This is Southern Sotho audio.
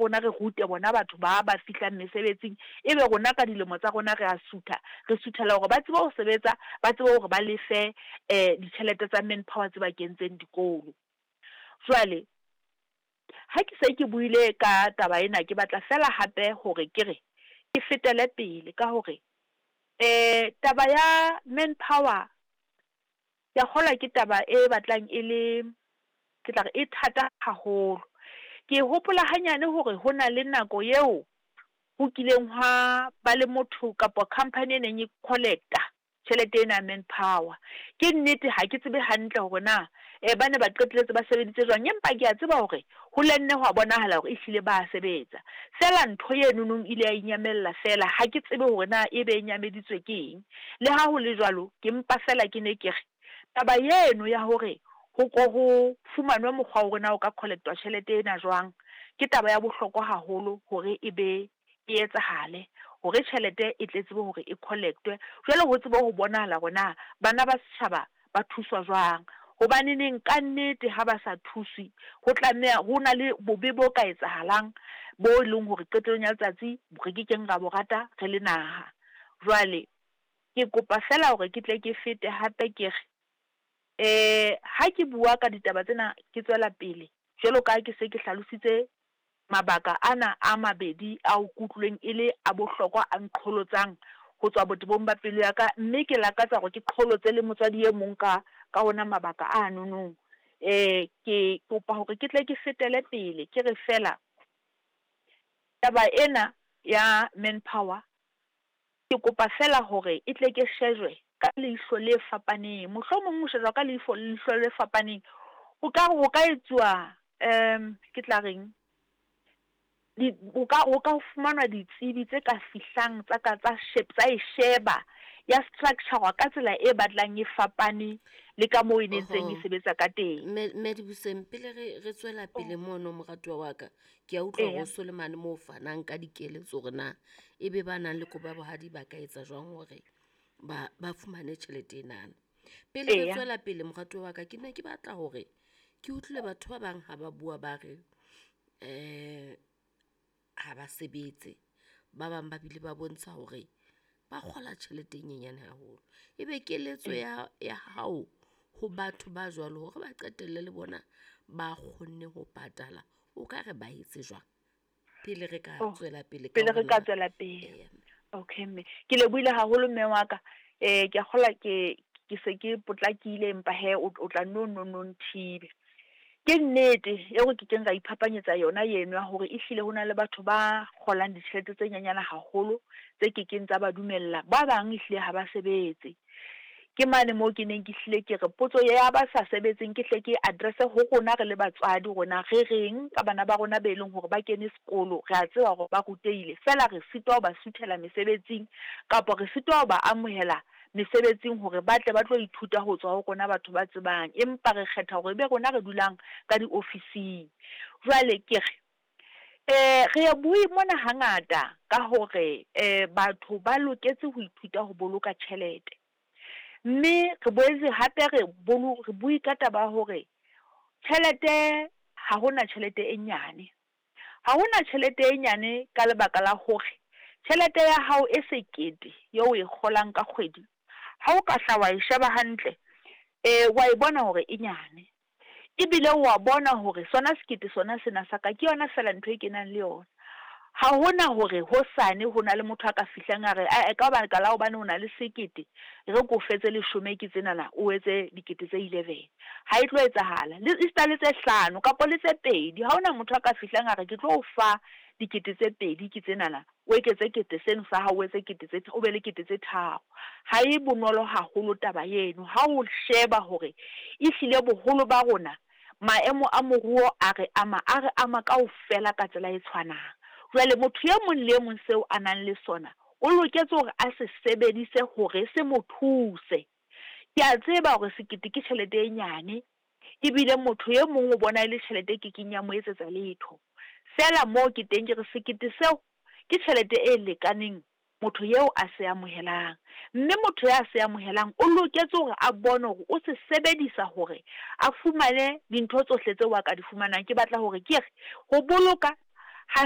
rona re rute bona batho ba ba fihlang mesebetsing, ebe rona ka dilemo tsa rona re a sutha, re suthela hore ba tsebe ho sebetsa, ba tsebe hore ba lefe ditjhelete tsa manpower tse ba kentseng dikolo. Jwale ha ke se ke buile ka taba ena, ke batla feela hape hore ke re ke fetele pele ka hore taba ya manpower ke ya kgolwa ke taba e batlang e le, ke tla re e thata haholo. Ke hopola hanyane hore ho na le nako eo ho kileng hwa ba le motho kapa company e neng e collect-a tjhelete ena ya manpower. Ke nnete ha ke tsebe hantle hore na ba ne ba qetelletse ba sebeditse jwang, empa ke ya tseba hore ho la nne hwa bonahala hore ehlile ba sebetsa. Feela ntho enonong ile ya inyamella feela, ha ke tsebe hore na ebe e nyameditswe ke eng. Le ha ho le jwalo, ke mpa feela ke ne ke re taba eno ya hore ho ko ho fumanwe mokgwa wa hore na o ka collect-wa tjhelete ena jwang, ke taba ya bohlokwa haholo hore e be e etsahale, hore tjhelete e tle tsebe hore e collect-we. Jwale ho tsebe ho bonahala hore na bana ba setjhaba ba thuswa jwang. Hobaneneng ka nnete ha ba sa thuswe, ho tlameha ho na le bobe bo ka etsahalang bo e leng hore qetellong ya letsatsi re ke keng ra bo rata re le naha. Jwale ke kopa feela hore ke tle ke fete hape ke re, ha ke bua ka ditaba tsena ke tswela pele, jwalo ka ha ke se ke hlalositse mabaka ana a mabedi ao ke utlwileng e le a bohlokwa a nqholotsang ho tswa botebong ba pelo ya ka, mme ke lakatsa hore ke qholotse le motswadi e mong ka ka ona mabaka anonong. Ke kopa hore ke tle ke fetele pele ke re feela, taba ena ya manpower ke kopa feela hore e tle ke shejwe ka leihlo le fapaneng. Mohlomong ho shejwa ka leifo leihlo le fapaneng, ho ka re ho ka etsuwa ke tla reng, di ho ka ho ka fumanwa ditsebi tse ka fihlang tsa ka tsa tsa e sheba, ya structure-wa ka tsela e batlang e fapane le ka moo e nentseng e Oho. sebetsa ka teng. Mme mme Dibuseng, pele re re tswela pele mono moratuwa wa ka, ke a utlwa hore Eya. o so le mane moo o fanang ka dikeletso hore na ebe ba nang le kobo ya bohadi ba ka etsa jwang hore ba ba fumane tjhelete enana. Pele re Eya. tswela pele moratuwa wa ka, ke ne ke batla hore ke utlwile batho ba bang ha ba bua ba re ha ba sebetse, ba bang ba bile ba bontsha hore ba kgola tjhelete e nyenyane haholo. Ebe keletso ya ya hao ho batho ba jwalo hore ba qetelle le bona ba kgonne ho patala, o ka re ba etse jwang? Pele re ka Oh, tswela pele ka pele hore re ka na tswela pele. eya. Okay mme, ke lebohile haholo mme wa ka, ke ya kgolwa ke ke se ke potlakile empa hee o o tla nno nno nno nthibe. Ke nnete eo re kekeng ra iphapanyetsa yona eno ya hore ehlile ho na le batho ba kgolang ditjhelete tse nyenyana haholo, tse kekeng tsa ba dumella, ba bang ehlile ha ba sebetse. Ke mane moo ke neng ke hlile ke re potso ya ba sa sebetseng ke hle ke address-e ho rona re le batswadi hore na re reng ka bana ba rona be leng hore ba kene sekolo, re a tseba hore ba rutehile, feela re sitwa ho ba suthela mesebetsing kapa re sitwa ho ba amohela mesebetsing hore ba tle ba tlo ithuta ho tswa ho rona batho ba tsebang, empa re kgetha hore ebe rona re dulang ka diofising. Jwale ke re, re ye bue mona hangata ka hore batho ba loketse ho ithuta ho boloka tjhelete. Mme re boetse hape re re bue ka taba ya hore tjhelete, ha hona tjhelete e nyane. Ha hona tjhelete e nyane ka lebaka la hore tjhelete ya hao e sekete eo o e kgolang ka kgwedi, ha o ka hla wa e sheba hantle, wa e bona hore e nyane. Ebile wa bona hore sona sekete sona sena sa ka ke yona feela ntho e kenang le yona. Ha hona hore hosane ho na le motho a ka fihlang a re ae ka baka la hobane o na le sekete, e re ke o fe tse leshome ke tsenana o etse dikete tse 11. Ha e tlo etsahala, le esita le tse hlano kapa le tse pedi, ha hona motho a ka fihlang a re ke tlo o fa dikete tse pedi ke tsenana, o eketse kete seno sa hao o etse kete tse o be le kete tse tharo. Ha e bonolo haholo taba eno, ha o sheba hore ehlile boholo ba rona maemo a moruo a re ama, a re ama kaofela ka tsela e tshwanang. Jwale motho e mong le e mong seo a nang le sona, o loketse hore a se sebedise hore se mo thuse. Ke a tseba hore sekete ke tjhelete e nyane, ebile motho e mong o bona e le tjhelete e kekeng ya mo etsetsa letho. Feela moo ke teng ke re sekete seo ke tjhelete e lekaneng motho eo a se amohelang. Mme motho ya se amohelang o loketse hore a bone hore o se sebedisa hore a fumane dintho tsohle tseo a ka di fumanang. Ke batla hore ke re, ho boloka ha.